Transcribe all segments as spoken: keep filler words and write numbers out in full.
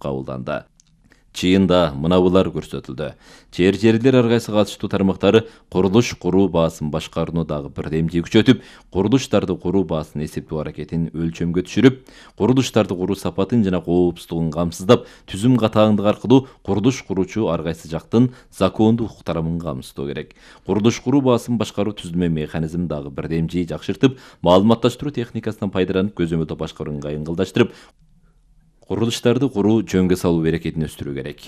кабылданды. Чыйында мынабулар көрсөтүлдү. Жер жерлер ар кайсы катыштуу тармактары курулуш куруу баасын башкарууну дагы бирдемдей күчөтүп, курулуштарды куруу баасын эсептөө аракетин өлчөмгө түшүрүп, курулуштарды куруу сапатын жана коопсуздугун камсыздап, түзүм катааңдыгы аркылуу курулуш куруучу ар кайсы жактын закондуу укуктарын камсыздоо керек. Курулуш куруу баасын башкаруу түзүлмө механизмин дагы бирдемдей жакшыртып, маалыматташтыруу техникасынан пайдаланып, көзөмөлдөө башкарууну кайынгылдаштырып, курулуштарды куруу жөнгө салуу берекетин өстүрүү керек.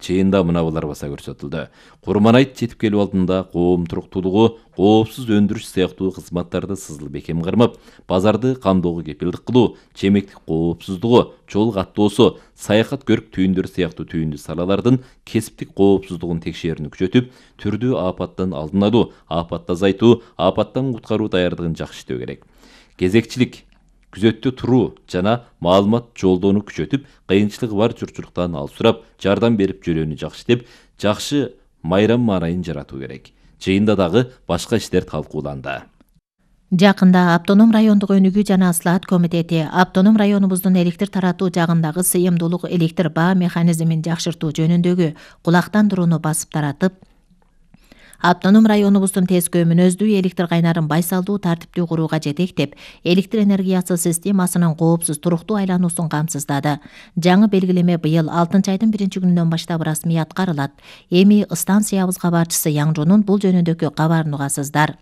Чыйында мынабулар баса көрсөтүлдү. Курманайт жетип келүү алдында коом туруктуулугу, коопсуз өндүрүш сыяктуу кызматтарды сызыл бекем кармап, базарды камдоого кепилдик кылуу, чемектик коопсуздугу, жол каттоосу, саякат көрүк түйүндөрү сыяктуу түйүндүү салалардын кесиптик коопсуздугун текшерүүнү күчөтүп, түрдүү апаттан алдын алуу, апатты азайтуу, апаттан куткаруу даярдыгын жакшы иштөө керек. Кезекчилик, күзөттө туруу жана маалымат жолдоону күчөтүп, кыйынчылыгы бар журтчулуктан алып сурап, жардам берип жөнөөнү жакшы деп, жакшы майрам маанайын жаратуу керек. Чыйында дагы башка иштер талкууланды. Жакында Автоном райондук өнүгүү жана ыслаат комитети автоном районубуздун электр таратуу жагындагы сыйымдуулук электр баа механизмин жакшыртуу жөнүндөгү кулактандырууну басып таратып, Автоном районубуздун тескөө мүнөздүү электр кайнарын байсалдуу тартиптүү курууга жетектеп, электр энергиясы системасынын коопсуз туруктуу айлануусун камсыздады. Жаңы белгилеме быйыл алтынчы айдын биринчи күнүнөн баштап расмий аткарылат. Эми станциябыз кабарчысы Яңжонун бул жөнүндөгү кабарын угасыздар.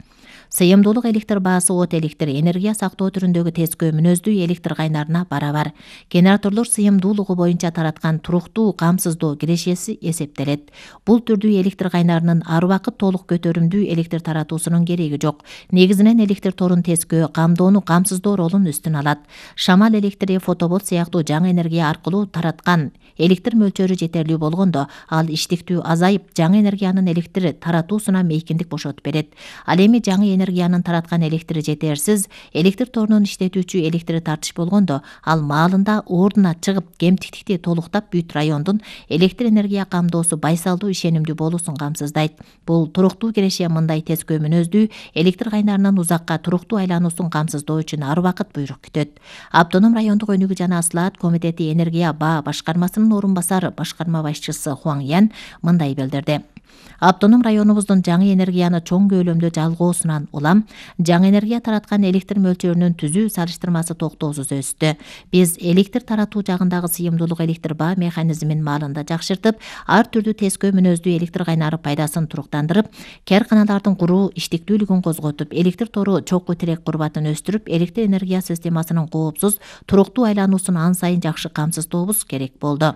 Сыйымдуулук электр баасы от электр энергия сактоо түрүндөгү тескөө мүнөздүү электр кайнарына барабар. Генераторлор сыйымдуулугу боюнча тараткан туруктуу камсыздоо кирешеси эсептелет. Бул түрдүү электр кайнарынын ар убакыт толук көтөрүмдүү электр таратуусунун кереги жок. Негизинен электр торун тескөө, камдоону камсыздоо ролун үстүн алат. Шамал электри, фотобот сыяктуу жаңы энергия аркылуу тараткан электр мөлчөрү жетерлүү болгондо, ал иштиктүү азайып, жаңы энергиянын электр таратуусуна мейкиндик бошотуп берет. Ал эми жаңы энергиянын тараткан электри жетерсиз, электр торунун иштетүүчү электри тартыш болгондо, ал маалында ордуна чыгып, кемтиктикти толуктап бүт райондун электр энергия камдоосу байсалдуу ишенимдүү болуусун камсыздайт. Бул туруктуу киреше мындай тескөө мүнөздүү электр кайнарынын узакка туруктуу айлануусун камсыздоо үчүн ар убакыт буйрук күтөт. Автоном райондук өнүгүү жана ыслаат комитети энергия баа башкармасынын орун басары башкарма башчысы Хуаң Ян мындай билдирди. Автоном районубуздун жаңы энергияны чоң көлөмдө жалгоосунан улам жаңы энергия тараткан электр мөлчөрүнүн түзүү салыштырмасы токтоосуз өстү. Биз электр таратуу жагындагы сыйымдуулук электр баа механизмин маалында жакшыртып, ар түрдүү тескөө мүнөздүү электр кайнары пайдасын туруктандырып, кээрканалардын куруу иштиктүүлүгүн козготуп, электр тору чокку тирек курбатын өстүрүп, электр энергия системасынын коопсуз, туруктуу айлануусун ан сайын жакшы камсыздообуз керек болду.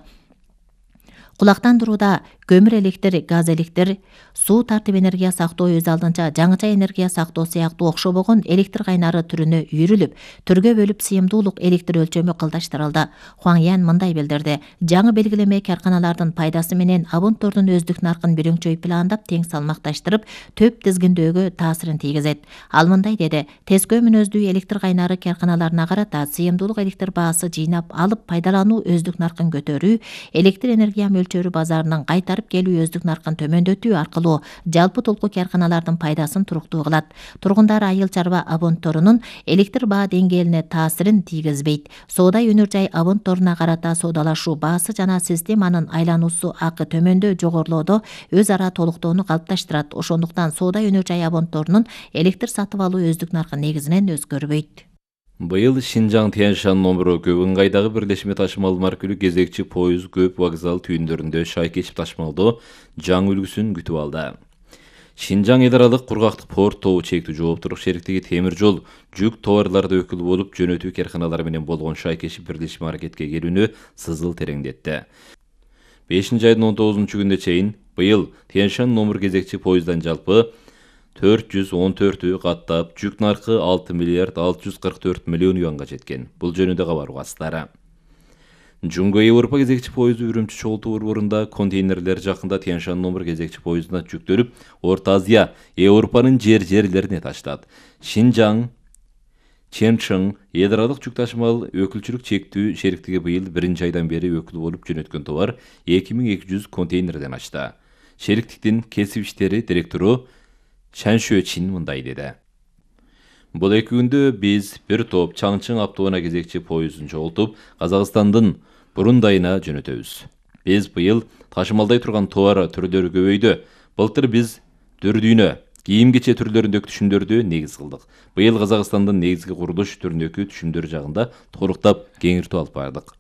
Кулактандырууда көмүр электр, газ электр, суу тартип энергия сактоо өз алдынча жаңыча энергия сактоо сыяктуу окшобогон электр кайнары түрүнө үйрүлүп, түргө бөлүп сыйымдуулук электр өлчөмү кылдаштырылды. Хуаң Ян мындай билдирди. Жаңы белгилеме каарканалардын пайдасы менен абонттордун өздүк наркын бирөңчөй пландап, тең салмакташтырып, төп тизгиндөөгө таасирин тийгизет. Ал мындай деди. Тескөө мүнөздүү электр кайнары каарканаларына карата сыйымдуулук электр баасы жыйнап алып пайдалануу өздүк наркын көтөрүү, электр энергия мөлчөрү базарынын кайтарып келүү өздүк наркын төмөндөтүү аркылуу жалпы толку каарканалардын пайдасын туруктуу кылат. Тургундар айыл чарба абонтторунун электр баа деңгээлине таасирин тийгизбейт. Соода өнөр жай абонтторуна карата соодалашуу баасы жана системанын айлануусу акы төмөндө жогорулоодо өз ара толуктоону калыпташтырат. Ошондуктан соода өнөр жай абонтторунун электр сатып алуу өздүк наркы негизинен өзгөрбөйт. Быйыл Шинжаң Тянь-Шань номуру көп ыңгайдагы бирдешме ташымал маркүлүү кезекчи поезд көп вокзал түйүндөрүндө шай кечип ташымалдоо жаңы үлгүсүн күтүп алды. Шинжаң эл аралык кургактык порт тобу чектүү жооптуулук шериктиги темир жол жүк товарларды өкүл болуп жөнөтүү карканалары менен болгон шай кечип бирдешме аракетке келүүнү сызыл тереңдетти. бешинчи айдын он тогузунчу күнүнө чейин быйыл Тянь-Шань номур кезекчи поезддан жалпы төрт жүз он төртү каттап, жүк наркы алты миллиард алты жүз кырк төрт миллион юанга жеткен. Бул жөнүндө кабар угасыздары. Жунго Европа кезекчи поезду Үрүмчү чогултуу борборунда контейнерлер жакында Тянь-Шань номур кезекчи поездуна жүктөлүп, Орто Азия, Европанын жер жерлерине таштат. Шинжаң, Чэнчэн эл аралык жүк ташымал өкүлчүлүк чектүү шериктиги быйыл биринчи айдан бери өкүл болуп жөнөткөн товар эки миң эки жүз контейнерден ачты. Шериктиктин кесип иштери директору Чан Шуэчин мындай деди. Бул эки күндө биз бир топ Чаңчың автоунаа кезекчи поездун чогултуп, Казакстандын бурундайына жөнөтөбүз. Биз быйыл ташымалдай турган товар түрлөрү көбөйдү. Былтыр биз дүрдүйнө, кийим-кече түрлөрүндөгү түшүмдөрдү негиз кылдык. Быйыл Казакстандын негизги курулуш түрүндөгү түшүмдөр жагында толуктап кеңиртүү алып бардык.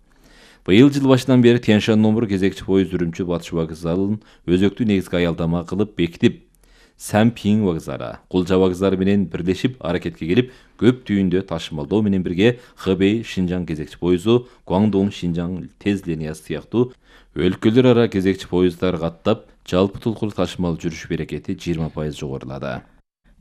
Быйыл жыл башынан бери Тянь-Шань номур кезекчи поезд Үрүмчү Батыш вокзалын өзөктүү негизги аялдама кылып бекитип, Сямпинг вокзалы, Кулжа вокзалы менен бирлешип аракетке келип, көп түйүндө ташымалдоо менен бирге Хэбэй Шинжаң кезекчи поезду, Гуандong Шинжаң тез линиясы сыяктуу өлкөлөр ара кезекчи поезддар каттап, жалпы толкулуу ташымал жүрүш берекети жыйырма пайыз жогорулады.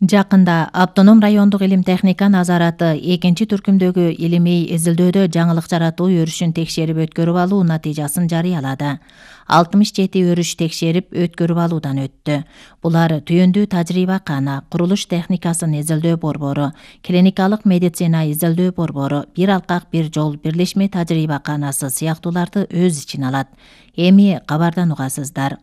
Жакында Автоном райондук илим техника назараты экинчи түркүмдөгү илимий изилдөөдө жаңылык жаратуу өрүшүн текшерип өткөрүп алуу натыйжасын жарыялады. алтымыш жети өрүш текшерип өткөрүп алуудан өттү. Булар түйүндүү тажрыйба кана, курулуш техникасын изилдөө борбору, клиникалык медицина изилдөө борбору, бир алкак бир жол бирлешме тажрыйба канасы сыяктууларды өз ичине алат. Эми кабардан угасыздар.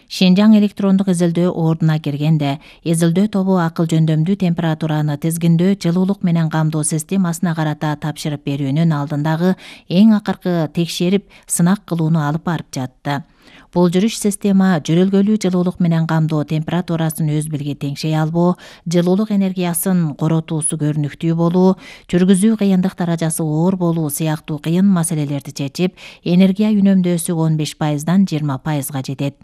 Шинжаң электрондук изилдөө ордуна киргенде, изилдөө тобу акыл жөндөмдүү температураны тизгиндөө жылуулук менен камдоо системасына карата тапшырып берүүнүн алдындагы эң акыркы текшерип, сынак кылууну алып барып жатты. Бул жүрүш система жөрөлгөлүү жылуулук менен камдоо температурасын өз билге теңшей албоо, жылуулук энергиясын коротуусу көрүнүктүү болуу, жүргүзүү кыйындык даражасы оор болуу сыяктуу кыйын маселелерди чечип, энергия үнөмдөөсү он беш пайыздан жыйырма пайызга жетет.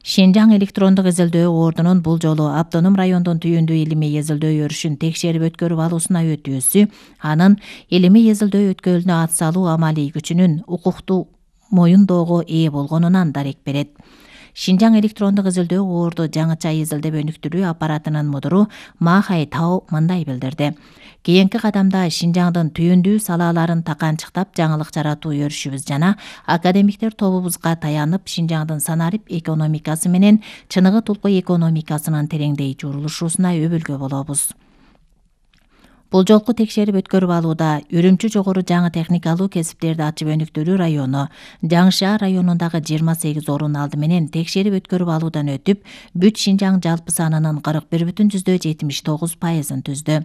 Шинжаң электрондук изилдөө ордунун бул жолу Автоном райондун түйүндүү илимий изилдөө өрүшүн текшерип өткөрүп алуусуна өтүүсү, анын илимий изилдөө өткөлүнө ат салуу амалий күчүнүн укуктуу моюндоого ээ болгонунан дарек берет. Шинжаң электрондук изилдөө орду жаңыча изилдеп өнүктүрүү аппаратынын мудуру Ма Хай Тао мындай билдирди. Кийинки кадамда Шинжаңдын түйүндүү салааларын таканчыктап жаңылык жаратуу өрүшүбүз жана академиктер тобубузга таянып Шинжаңдын санарип экономикасы менен чыныгы тулку экономикасынын тереңдей журулушуусуна өбүлгө болобуз. Бул жолку текшерип өткөрүп алууда Үрүмчү жогору жаңы техникалуу кесиптерди ачып өнүктүрүү району, Жаңышаар районундагы жыйырма сегиз орун алды менен текшерип өткөрүп алуудан өтүп, бүт Шинжаң жалпы санынын кырк бир бүтүн жүздөй жетимиш тогуз пайызын түздү.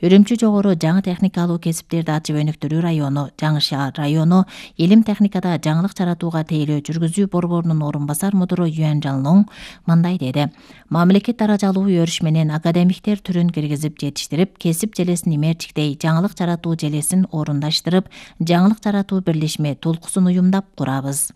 Үрүмчү жогору жаңы техникалуу кесиптерди ачып өнүктүрүү району, Жаңышаар району илим техникада жаңылык жаратууга тейлөө жүргүзүү борборунун орун басар мудуру Юан Жалнон мындай деди. Мамлекет даражалуу өрүш менен академиктер түрүн киргизип жетиштирип, кесип желесин имертиктей жаңылык жаратуу желесин орундаштырып, жаңылык жаратуу бирлешме толкусун уюмдап курабыз.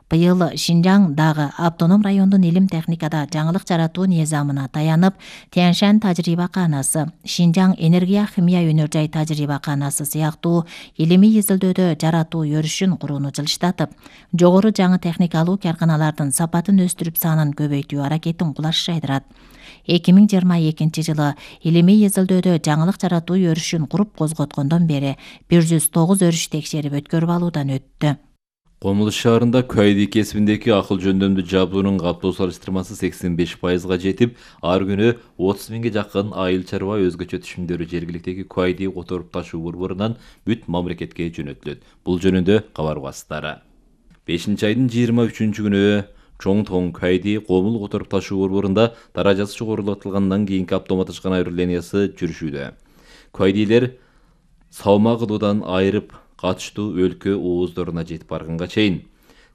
Быйыл Шинжаң дагы Автоном райондун илим техникада жаңылык жаратуу низамына таянып, Тянь-Шань тажрыйба канасы, Шинжаң энергия химия өнөр жай тажрыйба канасы сыяктуу илимий изилдөөдө жаратуу өрүшүн курууну жылыштатып, жогору жаңы техникалуу карканалардын сапатын өстүрүп санын көбөйтүү аракетин кулаш жайдырат. эки миң жыйырма экинчи жылы илимий изилдөөдө жаңылык жаратуу өрүшүн куруп козготкондон бери бир жүз тогуз өрүш текшерип өткөрүп алуудан өттү. Комулуш шаарында Куайди кесибиндеги акыл жөндөмдүү жабуунун каттоо салыштырмасы сексен беш пайызга жетип, ар күнү отуз миңге жакын айыл чарба өзгөчө түшүмдөрү жергиликтеги Куайди которуп ташуу борборунан бүт мамлекетке жөнөтүлөт. Бул жөнүндө кабар угасыздары. бешинчи айдын жыйырма үчүнчү күнү Чоңтоң Куайди комул которуп ташуу борборунда даражасы жогорулатылгандан кийинки автоматташкан айруу линиясы жүрүшүүдө. Куайдилер салма кылуудан айырып катыштуу өлкө ооздоруна жетип барганга чейин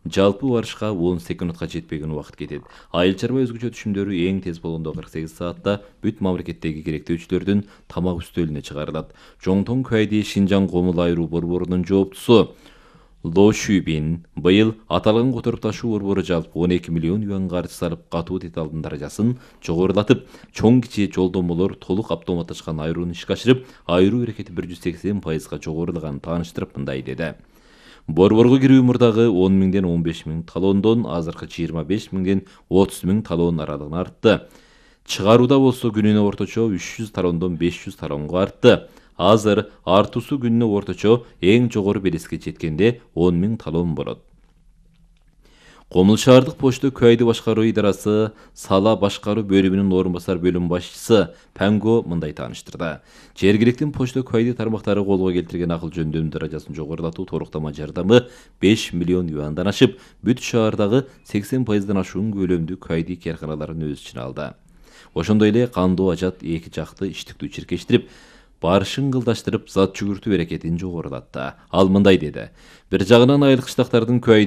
жалпы барышка он секундка жетпеген убакыт кетет. Айыл чарба өзгөчө түшүмдөрү эң тез болгондо кырк сегиз саатта бүт мамлекеттеги керектөөчүлөрдүн тамак үстөлүнө чыгарылат. Чоңтоң Куайди Шинжаң комул айруу борборунун жооптусу Ло Шүбин быйыл аталган которуп ташуу борбору жалпы он эки миллион юан каржы салып катуу деталдын даражасын жогорулатып, чоң кичи жолдомолор толук автоматташкан айрууну ишке ашырып, айруу эрекети бир жүз сексен пайызга жогорулганын тааныштырып мындай деди. Борборго кирүү мурдагы он миңден он беш миң талондон азыркы жыйырма беш миңден отуз миң талон аралыгына артты. Чыгарууда болсо күнүнө орточо үч жүз талондон беш жүз талонго артты. Азыр артуусу күнүнө орточо эң жогору белеске жеткенде он миң талон болот. Комул шаардык почта Куайди башкаруу идарасы сала башкаруу бөлүмүнүн орун басар бөлүм башчысы Панго мындай тааныштырды. Жергиликтин почта Куайди тармактары колго келтирген акыл жөндөмдүү даражасын жогорулатуу торуктама жардамы беш миллион юандан ашып, бүт шаардагы сексен пайыздан ашуун көлөмдүү Куайди карканаларын өз ичине алды. Ошондой эле кандуу ажат эки жакты иштиктүү чиркештирип, барышын ылдаштырып зат жүгүртүү эрекетин жогорулатты. Ал мындай деди: бир жагынан айыл кыштактардын күбө